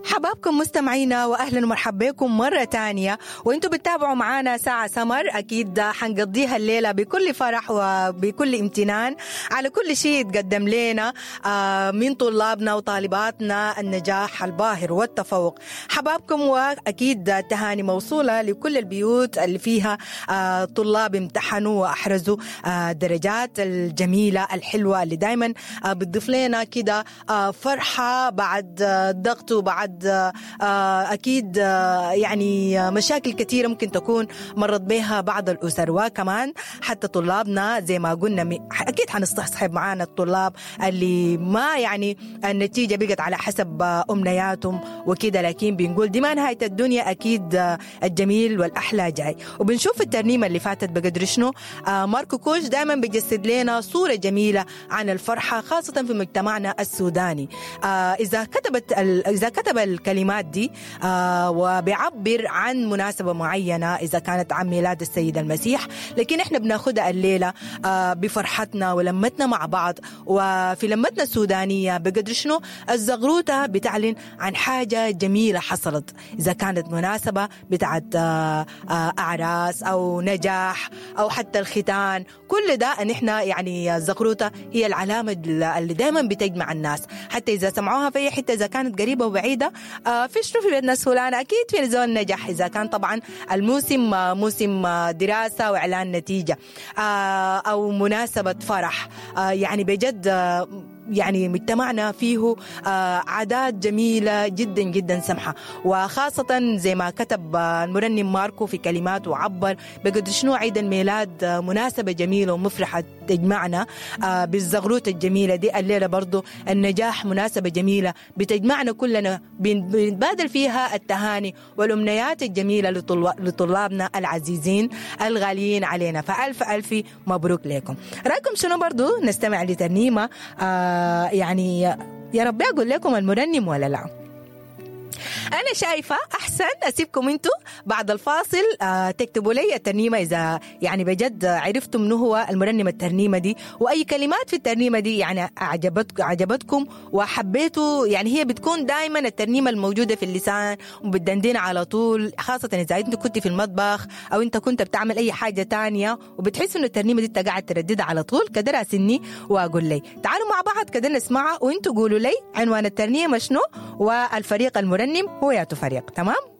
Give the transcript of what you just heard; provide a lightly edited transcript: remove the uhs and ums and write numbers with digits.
حبابكم مستمعينا، واهلا ومرحبا بكم مرة تانية وانتم بتتابعوا معانا ساعة سمر. اكيد حنقضيها الليلة بكل فرح وبكل امتنان على كل شيء يتقدم لنا من طلابنا وطالباتنا، النجاح الباهر والتفوق. حبابكم، واكيد تهاني موصولة لكل البيوت اللي فيها طلاب امتحنوا واحرزوا الدرجات الجميلة الحلوة اللي دائما بتضيف لنا كده فرحه بعد ضغط وبعد اكيد يعني مشاكل كثيرة ممكن تكون مرت بها بعض الاسر، وكمان حتى طلابنا زي ما قلنا اكيد حنستصحب معانا الطلاب اللي ما يعني النتيجة بقت على حسب امنياتهم وكده، لكن بنقول دي ما نهاية الدنيا، اكيد الجميل والاحلى جاي. وبنشوف الترنيمة اللي فاتت بقدر شنو ماركو كوش دائما بيجسد لنا صوره جميلة عن الفرحة، خاصة في مجتمعنا السوداني. اذا كتب الكلمات دي وبيعبر عن مناسبة معينة إذا كانت عن ميلاد السيد المسيح، لكن إحنا بناخدها الليلة بفرحتنا ولمتنا مع بعض. وفي لمتنا السودانية بقدر شنو الزغروطة بتعلن عن حاجة جميلة حصلت، إذا كانت مناسبة بتاعت أعراس أو نجاح أو حتى الختان، كل ده إن إحنا يعني الزغروطة هي العلامة اللي دايما بتجمع الناس، حتى إذا سمعوها في أي حتة إذا كانت قريبة وبعيدة. في شنو في بيت ناس فلان، أكيد في زول نجح، إذا كان طبعا الموسم موسم دراسة وإعلان نتيجة أو مناسبة فرح. يعني بجد يعني مجتمعنا فيه عادات جميلة جدا جدا سمحة، وخاصة زي ما كتب المرنم ماركو في كلماته وعبر بقدر شنو عيد الميلاد مناسبة جميلة ومفرحة تجمعنا بالزغروت الجميلة دي. الليلة برضو النجاح مناسبة جميلة بتجمعنا كلنا، بنتبادل فيها التهاني والأمنيات الجميلة لطلابنا العزيزين الغاليين علينا. فألف ألف مبروك لكم. رأيكم شنو برضو نستمع لترنيمة يعني يا رب أقول لكم المرنم ولا لا؟ أنا شايفة أحسن أسيبكم أنتوا بعد الفاصل تكتبوا لي الترنيمة إذا يعني بجد عرفتم منو هو المرنم الترنيمة دي، وأي كلمات في الترنيمة دي يعني عجبتكم وحبيتوا. يعني هي بتكون دائما الترنيمة الموجودة في اللسان وبتدندن على طول، خاصة إذا أنت كنت في المطبخ أو أنت كنت بتعمل أي حاجة تانية وبتحس إنه الترنيمة دي أنت قاعد ترددها على طول كده، راسلني وأقول لي تعالوا مع بعض كده نسمعها، وأنتوا قولوا لي عنوان الترنيمة شنو والفريق المرنم هو ياتو فريق. تمام؟